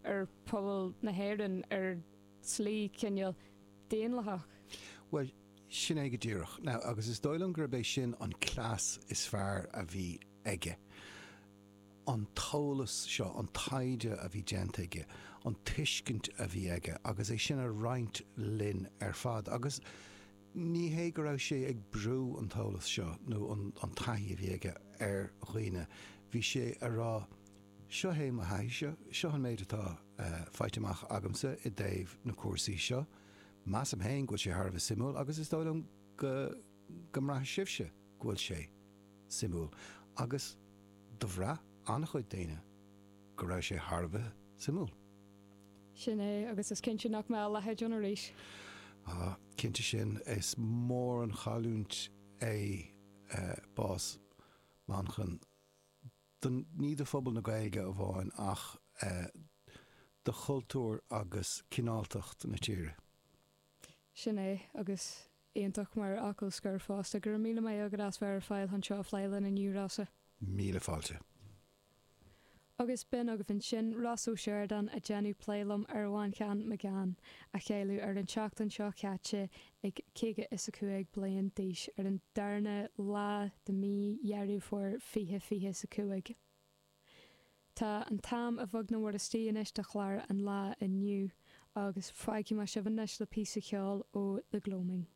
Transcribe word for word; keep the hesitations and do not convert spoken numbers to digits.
ar phobal na hÉireann ar slí cineál daonlathach. Well, sin é go díreach. Now, agus is dóigh liom gurb é sin an cleas is fearr a bhí aige. An t-eolas seo, an taighde a bhí déanta aige, an tuiscint a bhí aige agus é sin a roinnt linn ar fad. Agus ní hé go raibh sé ag brú an t-eolas seo nó an, an taithí a bhí aige ar dhaoine. Bhí sé a rá, seo é mo thaithí seo, an méid atá uh, faighte amach agamsa i dtaobh na cúrsaí seo. Measaim féin go bhfuil sé thar a bheith suimiúil agus is dóigh liom go go mbraithfidh sibhse go bhfuil sé suimiúil. Agus do bhraith an-chuid daoine go raibh sé thar a bheith suimiúil. Sin é agus is cinnte nach mbeidh a leithéid ann arís. Ah, cinnte sin is mór an chailliúint é uh, bás Manchán don ní do phobal na Gaeilge amháin ach uh, do chultúr agus cineáltacht na tíre. Sin é agus iontach mar fhocal scoir fosta go raibh míle maith agat as bheith ar fáil anseo ag plé linn inniu Rossa. Míle fáilte. Agus b'in agaibh ansin Ross Ó Seireadáin ag déanamh plé liom ar Mhanchán Magan a cailleadh ar an tseachtain seo caite ag caoga is a cúig bliain d'aois ar an darna lá de mí Dheireadh Fómhair fiche fiche is a cúig. Tá an t-am a bheag nó istigh anois do chlár an lae inniu agus fágfaidh mé sibh anois le píosa ceoil ó The Gloaming.